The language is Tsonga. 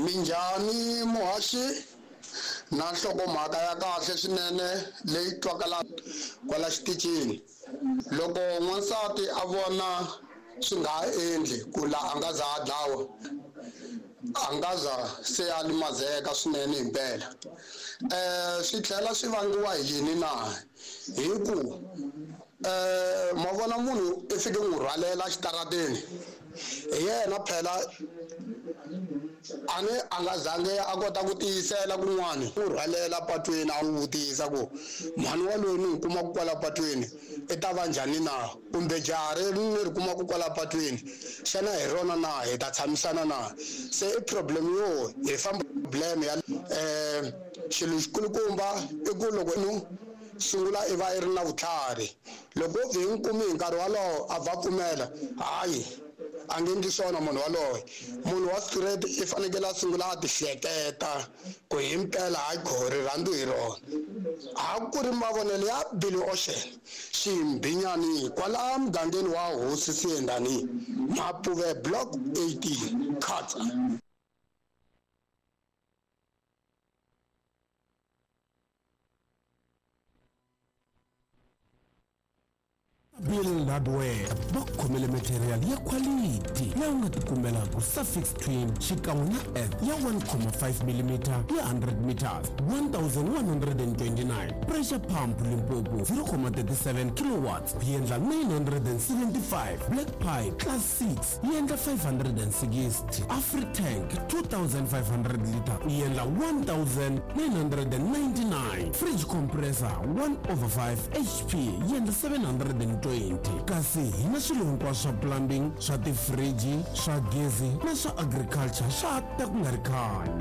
Minjhani muhaxi na nhlokomhaka ya kahle swinene leyi twakalaka kwala xitichini. Loko n'wansati a vona swi nga ha endli ku la a nga za a dlawa, a nga za se a limazeka swinene himpela. Swi tlhela swi vangiwa hi yini na? Hi ku ma vona munhu i fike n'wi rhwalela exitarateni hi yena phela a ni a nga zange a kota ku tiyisela kun'wani n'wi rhwalela patwini a n'wi vutisa ku mhani wa loyi ni n'wi kumaka kwala patwini i ta va njhani na kumbe jaha reri ni ri kumaka kwala patwini xana hi rona na hi ta tshamisana na se i problem yo hi famba problem ya xilo xikulukumba i ku loko nu sungula i va i ri na vutlhari loko wo vhe hi n'wi kumi hi nkarhi wolowo a va pfumela hayi a nge endli swona munhu waloye munhu wa straight i fanekele a sungula a ti hleketa ku himpela hayi kho rirhandzu hi rona a ku ri mavonelo ya Billy Ocean Ximbinyani kwala mugangeni wa Hosi Siyendani Mapuve Block 18 Khatsa. Bill Hardware va ku khomele material ya quality leyi u nga tikumelaka Suffix Twin xikan'we na Earth ya 1.5 mm ya 100 meters 1129 pressure pump Limpopo 0.37 kilowatts yi endla 975 black pipe class 6 yi endla 560 Afritank 2500 liter yi endla 1999 fridge compressor 1 over 5 hp yi endla 720 kasi hi na swilo hinkwaswo swa plumbing swa tifriji swa gezi na swa agriculture swa ta ku nga ri khale.